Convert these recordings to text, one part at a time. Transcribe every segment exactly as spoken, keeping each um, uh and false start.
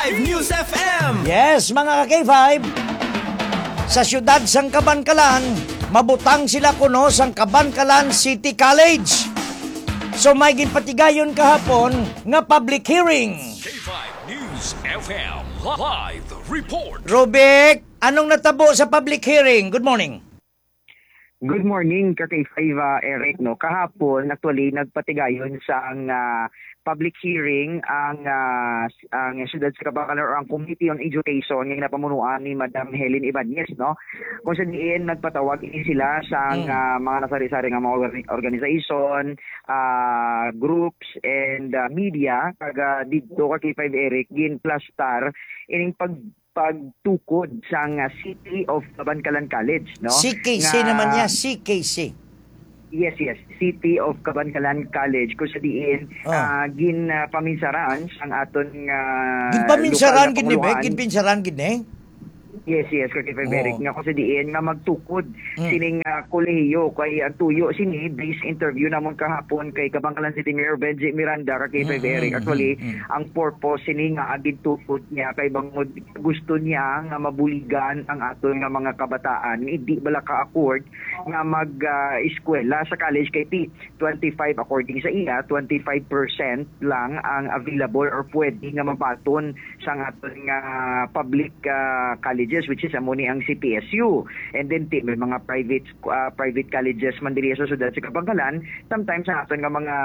News F M. Yes, mga ka-K five, sa siyudad sang Kabankalan, mabutang sila kuno sang Kabankalan City College. So may ginpatigayon kahapon nga public hearing. K five News F M live report. Rubik, anong natabo sa public hearing? Good morning. Good morning, ka K five, ah, Eric, no. Kahapon, actually, nagpatigayon sang, ah, public hearing ang, ah, s-, ang siyudad sa Kabankalan or ang Committee on Education nga ginapamunuan ni Madam Helen Ibanez, no. Kung sa diin nagpatawag ini sila sang, Mm. ah, mga nasari-sari nga mga orga-, organization, ah, groups and, ah, media, kag, ah, didto ka K five Eric, ginplastar ining pag-, pagtukod sang, ah, City of Kabankalan College, no? C K C Nga naman niya, C K C. Yes, yes. City of Kabankalan College, kung sa diin, Oh. ah, gin, ah, paminsaran sang aton nga Ginpaminsaran lokal nga gid ni, Bek? Pangulohan. Ginpinsaran gid ni? Yes, yes, ka K five Oo. Eric, nga kung sa diin nga magtukod Mm. sining, ah, kolehiyo. Kay ang tuyo sini, based interview namon kahapon kay Kabankalan City Mayor Benji Miranda, ka K five Mm, Eric. mm, Actually, mm, mm. ang purpose sini nga gintukod niya kay bangod gusto niya nga mabuligan ang aton nga mga kabataan, hindi bala ka-afford nga mag, ah, eskwela sa college kay ti-, twenty-five, according sa iya, twenty-five percent lang ang available or pwede nga mabaton sang aton nga public, ah, colleges, which is amo ni ang C P S U. And then, ti-, may mga private, ah, private colleges man diri sa siyudad sa Kabankalan. Sometimes, ang aton nga mga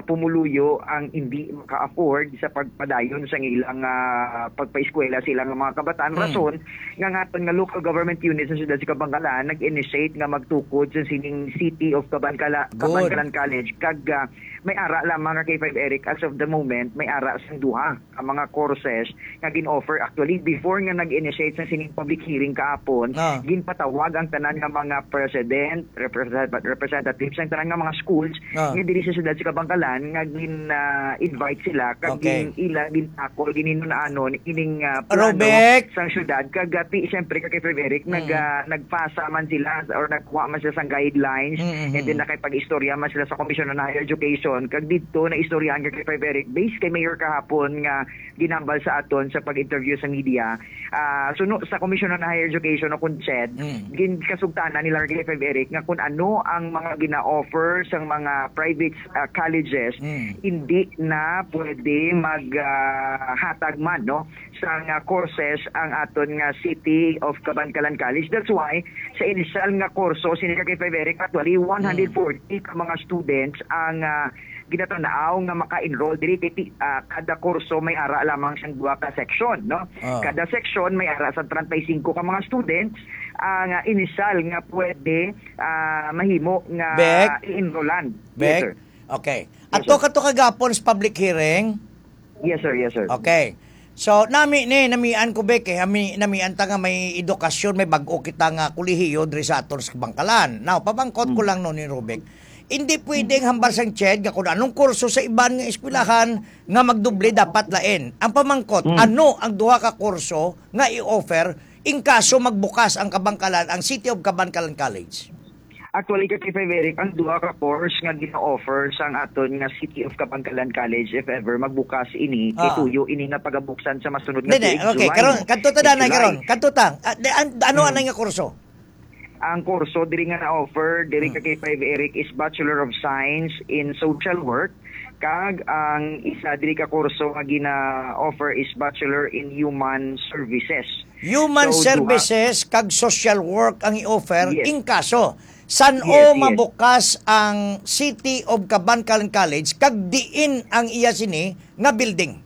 pumuluyo ang hindi maka-afford sa pagpadayon sang ilang, ah, pagpaeskwela sa ilang mga kabataan. Hmm. Rason nga, nga aton nga local government unit sa siyudad sa Kabankalan nag-initiate nga magtukod sa sining City of Kabankala-, Good. Kabankalan College. Kag, ah, may ara lamang nga K five Eric, as of the moment, may ara sang duha ka mga courses nga gin-offer. Actually, before nga nag-initiate sa sining public hearing kahapon, Ah. ginpatawag ang tanan nga mga president, represent-, representatives, ang tanan nga mga schools Ah. nga diri sa siyudad sa Kabankalan nga gin, ah, invite sila, kag Okay. gin-, ila, gintakol, gin-inon-anon ining, ah, plano Robek. sang siyudad. Kag, ah, ti-, siyempre, ka K five Eric, nag, Mm. ah, nagpasa man sila or nagkuha man sila sang guidelines, Mm, mm, and then mm. nakipag-istorya man sila sa Commission on Higher Education. Kag didto, naistoryahan ka K five Eric, based kay Mayor kahapon nga ginhambal sa aton sa pag-interview sa media. Ah, suno sa Commission on Higher Education o kon CHED, Mm. ginkasugtanan nila, K five Eric, nga kung ano ang mga gina-offer sang mga private, ah, colleges, Mm. hindi na pwede mag, ah, hatag man, no, sang, ah, courses ang aton nga City of Kabankalan College. That's why, sa initial nga kurso, sini ka K five Eric, actually, Mm. one hundred forty ka mga students ang, ah, ginatanaw nga maka-enroll diri kay ti-, ah, kada kurso may ara lamang siyang duha ka section, no? Ah. Kada section may ara sa treinta y cinco ka mga students, ah, nga initial nga pwede, ah, mahimo nga Bek? i-enrollan. Yes, Bek? sir. Okay. Yes, Ato sir. ka to kagapon sa public hearing? Yes, sir. Yes, sir. Okay. So, nami ni, namian ko, Bek, eh. Ami, namian ta nga may edukasyon, may bag-o kita nga kolehiyo diri sa aton sa Bangkalan. Now, pamangkot ko Mm. lang no ni Rubik. Hindi pwedeng hambal sang CHED nga kung anong kurso sa iban nga eskwelahan nga magdoble dapat lain. Ang pamangkot, Mm. ano ang duha ka kurso nga i-offer in kaso magbukas ang Kabankalan, ang City of Kabankalan College? Actually, ka K five Eric, ang duha ka course nga gina-offer sang aton nga City of Kabankalan College, if ever magbukas ini, kay Ah. tuyo ini nga pagabuksan sa masunod nga Hindi, tuig, okay, July, karon, no? Kadto ta, Kay danay, July. karon. Kadto ta. Ah, di, an-, ano Hmm. anay nga kurso? Ang kurso diri nga na-offer, diri ka Hmm. K five Eric, is Bachelor of Science in Social Work, kag ang isa diri ka kurso nga gina-offer is Bachelor in Human Services. Human So, duha Services kag Social Work ang i-offer. Yes. In kaso, san-o Yes, yes. mabukas ang City of Kabankalan College, kag diin ang iya sini nga building?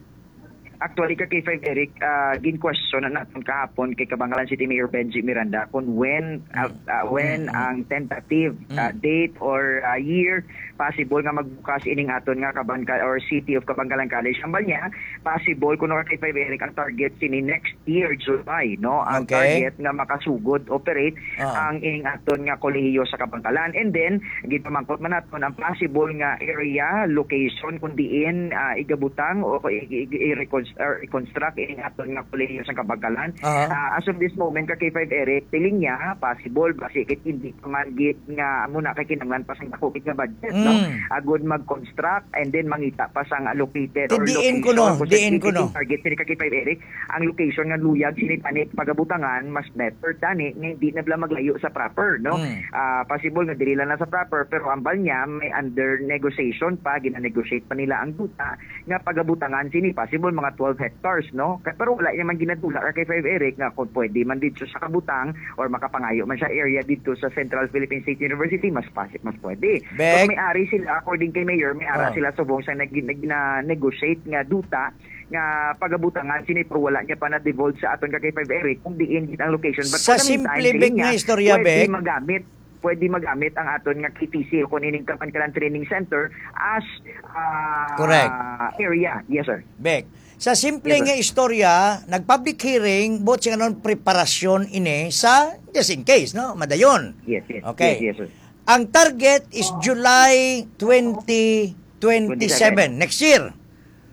Actually, ka K five Eric, ah, gin-question na naton kahapon kay Kabankalan City Mayor Benji Miranda kung when, ah, Mm. ah, when Mm, mm. ang tentative, ah, Mm. date or, ah, year possible nga magbukas ining aton nga Kabanka-, or City of Kabankalan College. Hambal niya, possible, kuno ka K five Eric, ang target sini next year, July, no? Ang Okay. target nga makasugod, operate Ah. ang ining aton nga kolehiyo sa Kabankalan. And then, gipamangkot man naton ang possible nga area, location, kung diin, ah, igabutang o i-, i-, i-recons-, or i-construct ining aton nga kolehiyo sa Kabankalan. Aha. Ah, as of this moment, ka K five Eric, feeling niya, possible, basi kay hindi pa man gid nga muna kay kinahanglan pa sa dako gid nga budget, no? Mm. Agud mag-construct and then mangita pa sang allocated or Ti diin location kuno, kung Diin ko, no? Target sini ka K five Eric, ang location nga luyag sini tani pagabutangan, mas better tani nga hindi na bala maglayo sa proper, no? Mm. Ah, possible nga diri lang na sa proper, pero ambal niya may under negotiation pa, gina-negotiate pa nila ang duta nga pagabutangan sini, possible mga twelve hectares, no? Ka-, pero wala niya man ginadula ka K five Eric nga kung pwede man dito sa kabutang or makapangayo man siya area dito sa Central Philippine State University, mas pasi-, mas pwede. Bek. Kung may ari sila, according kay Mayor, may ara Oh. sila subong sa nag-, nag-, na-negotiate nga duta nga pagabutangan sini, pero wala niya pa na-divulge sa aton ka K five Eric kung diin gid ang location. But Sa for the meantime, simple, Bek, diin nga niya, istorya, pwede Bek. magamit, pwede magamit ang aton nga K T C o kung ining Kabankalan Training Center as, ah, Correct. area. Yes, sir. Bek, sa simple Yes, sir. nga istorya, nag-public hearing, buot sing anon preparasyon ini sa, just in case, no? Madayon. Yes, yes. Okay. Yes, yes, sir. Ang target is July twenty twenty-seven, Twenty-seven. next year.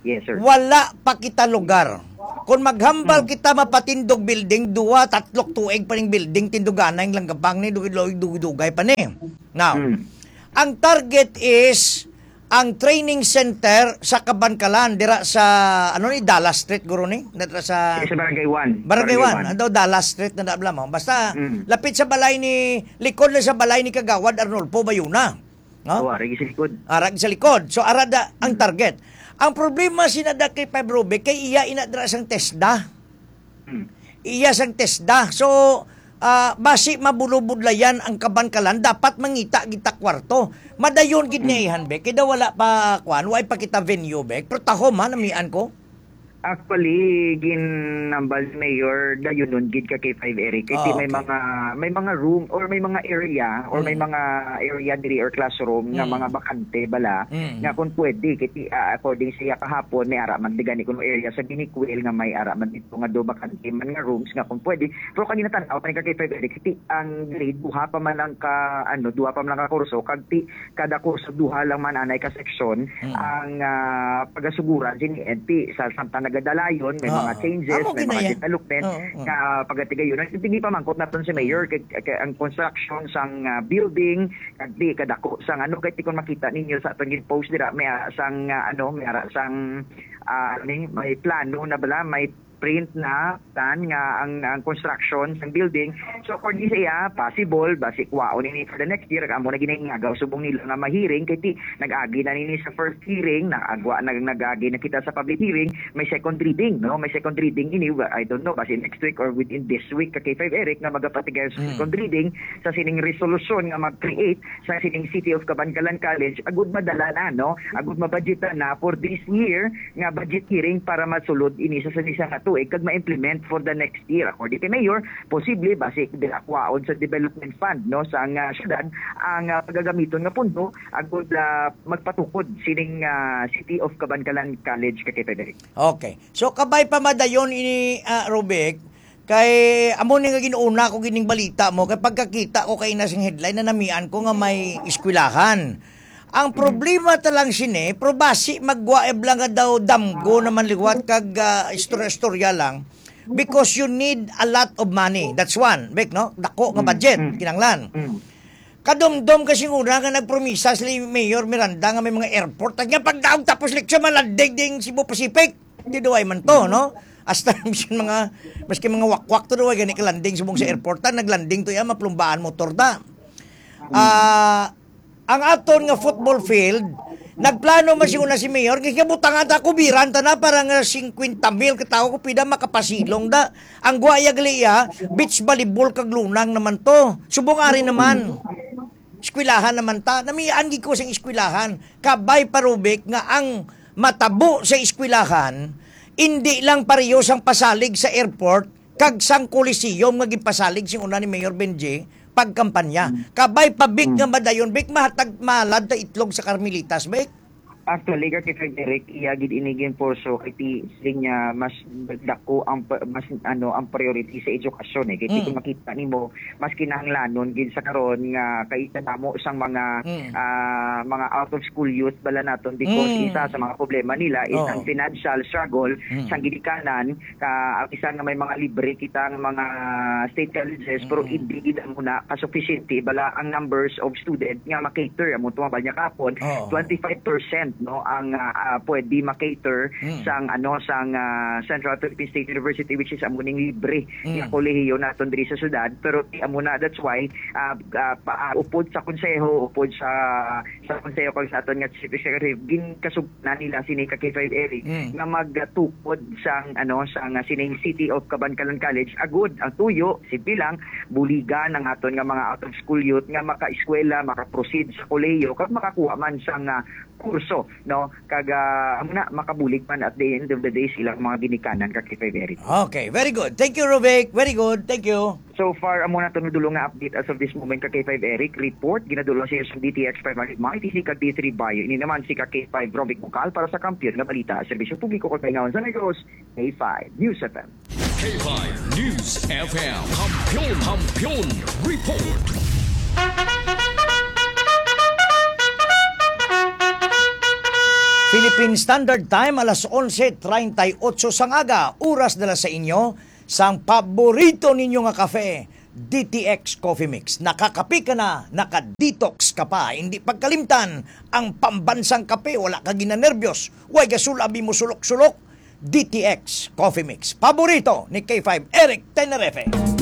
Yes, sir. Wala pa kita lugar. Kung maghambal Hmm. kita mapatindog building, duwa, tatlok tuig pa ning building, tinduganay ang langgabang ni, dugay-dugay pa ni. Now, Hmm. ang target is ang training center sa Kabankalan, dira sa, ano ni, Dallas Street, guro ni? Dira sa Sa Barangay one. Barangay Barangay one. one. Ano daw, Dallas Street na nabla mo. Basta, Hmm. lapit sa balay ni, likod lang sa balay ni Kagawad Arnulfo Bayuna. No? Oh, arag sa likod. Arag sa likod. So, arada ang Hmm. target. Ang problema sina da kay Five Ruby, kay iya ina dira sang TESDA. Hmm. Iya sang TESDA. So, ah, basi mabulubudlayan ang Kabankalan, dapat mangita gid ta kwarto. Madayon gid Hmm. niya ihan, Bek. Kay daw wala pa, kwan, wala pa kita venue, Bek. Pero tahom, ha, namian ko. Actually, ginambal ni Mayor, dayunon gid ka K five Eric. Kay Ah, may okay. mga, may mga room or may mga area or may Mm. mga area diri or classroom nga Mm. mga bakante bala Mm. nga kung pwede. Kay, ah, according sa iya kahapon, may ara man di gani kuno area sa Binicuil nga may ara man dito nga do bakante man nga rooms nga kung pwede. Pero kanina tan-aw pa ni ka K five Eric, kay ang grade, duha pa man lang ka, ano, duha pa man lang ka kurso, kag ti-, kada kurso duha lang man anay ka section Mm. ang, ah, pagasuguran sini N P. Sa samtang nagadalayon, may Oo. mga changes, Amo may mga ginayan. development Oo, oo. nga pagatigayon. Ang tingin pa mangkot naton si Mayor, Mm. kay, kay ang construction sang, ah, building, kag di kadako sang ano, kay tikon makita ninyo sa atong gin-post dira, may, ah, sang, ah, ano, may ara sang, ah, ni, may plano na bala, may print na tan nga ang, ang construction sang building. So, according sa iya, possible, basi kwaon ini for the next year, amo na ginangagaw subong nila nga mahiring, kay ti, nag-agi na nini sa first hearing, nag-agwa, nag-, nag-agi na kita sa public hearing, may second reading, no? May second reading ini, wa-, I don't know, basi next week or within this week, ka K five Eric, nga magapatigay sa Mm. second reading sa sining resolusyon nga mag-create sa sining City of Kabankalan College, agud madala na, no? Agud mabudgetan na for this year, nga budget hearing para masulod ini sa sini sa nga tuig kag ma-implement for the next year. According kay Mayor, posible basi dira kwaon sa development fund, no, sa nga syudad ang, ah, pagagamiton nga pundo agud, ah, magpatukod sining, ah, City of Kabankalan College, ka K five Eric. Okay. So, kabay pa madayon ini, ah, Rubik, kay amo ni nga gin-una ko gining balita mo, kay pagkakita ko kay na sing headline, nanamian ko nga may eskwelahan. Ang Mm. problema ta lang sini, pero basi magwaib lang nga daw damgo naman liwat kag, ah, istorya-istorya lang, because you need a lot of money. That's one, Bek, no? Dako nga Mm, budget, mm. kinanglan. Mm. Kadumdom ka sing una nga nagpromisa si Mayor Miranda nga may mga airport. At nga pagdaog tapos leksyon, malanding ding Cebu Pacific. Di duway man to, Mm. no? Hasta bisan mga, maski mga wakwak to, duway gani ka landing subong sa Mm. airport, ta, naglanding to yan, maplumbaan motor ta. Mm. Ah, ang aton nga football field, nagplano man siguro na si Mayor, kay kabutangan ta, kubiran ta na, para nga singkwenta mil ka tawo, kung pida makapasilong da. Ang guwaya gali iya, beach volleyball kag lunang naman to. Subong ari naman. Eskwelahan naman ta. Namian gid ko sang eskwelahan. Kabay pa, Rubik, nga ang matabo sa eskwelahan, indi lang pareho sang pasalig sa airport kag sang Coliseum nga ginpasalig sing una ni Mayor Benji pagkampanya. Hmm. Kabay pa, Bik, Hmm. nga madayon, Bik, mahatag malad ta itlog sa Carmelitas, Bik. Actually, ka kay Frederick, iya gid ini ginpurso kay ti-, siling niya mas dako ang pa-, mas, ano, ang priority sa edukasyon, eh. Kay Mm. kung makita nimo, mas kinahanglanon gid sa karon nga kay kadamo sang mga, Mm. ah, mga out of school youth bala naton because Mm. isa sa mga problema nila is Oo. ang financial struggle Mm. sa ginikanan ka, ang isa nga may mga libre kita nga mga state colleges, pero Mm. hindi gid amo na ka-sufficiente bala ang numbers of student nga ma-cater. Amo to nga bala niya kahapon, Oo. twenty-five percent no, ang ah, ah, pwede makater Mm. sang ano sang ah, Central Philippine State University, which is amo ning libre Mm. nga kolehiyo naton diri sa syudad. Pero di amo na, that's why ah, ah, pa, ah, upod sa konseho, upod sa sa konseho kag sa aton nga chief executive, ginkasugnan nila sini ka K five Eric Mm. nga magtukod sang ano sang ah, sining City of Kabankalan College. Agud ang tuyo, simple lang, buligan ang aton nga mga out of school youth nga makaeskwela, makaproceed sa kolehiyo kag makakuha man sang ah, kurso, no? Kag ah, amo na, makabulig man at the end of the day sa ilang mga ginikanan ka K five Eric. Okay, very good. Thank you, Rovic. Very good. Thank you. So far, amo na to ang dulo nga update as of this moment ka K five Eric. Report, ginadul-ong sa inyo sa D T X five hundred Mighty C kag D three Bayo. Ini naman si ka K five Rovic Bukal para sa Kampiyon nga Balita, Serbisyo Publiko kag Kalingawan sa Negros, K five News F M. K five News F M. Kampiyon, Kampiyon Report. Philippine Standard Time, alas onse treinta y ocho sang aga, oras dala sa inyo sang paborito ninyo nga kafe, D T X Coffee Mix. Nakakape ka na, naka-detox ka pa. Hindi pagkalimtan ang pambansang kape, wala ka ginanerbyos, way gasulabi mo sulok-sulok. D T X Coffee Mix, paborito ni K five Eric Tenerife.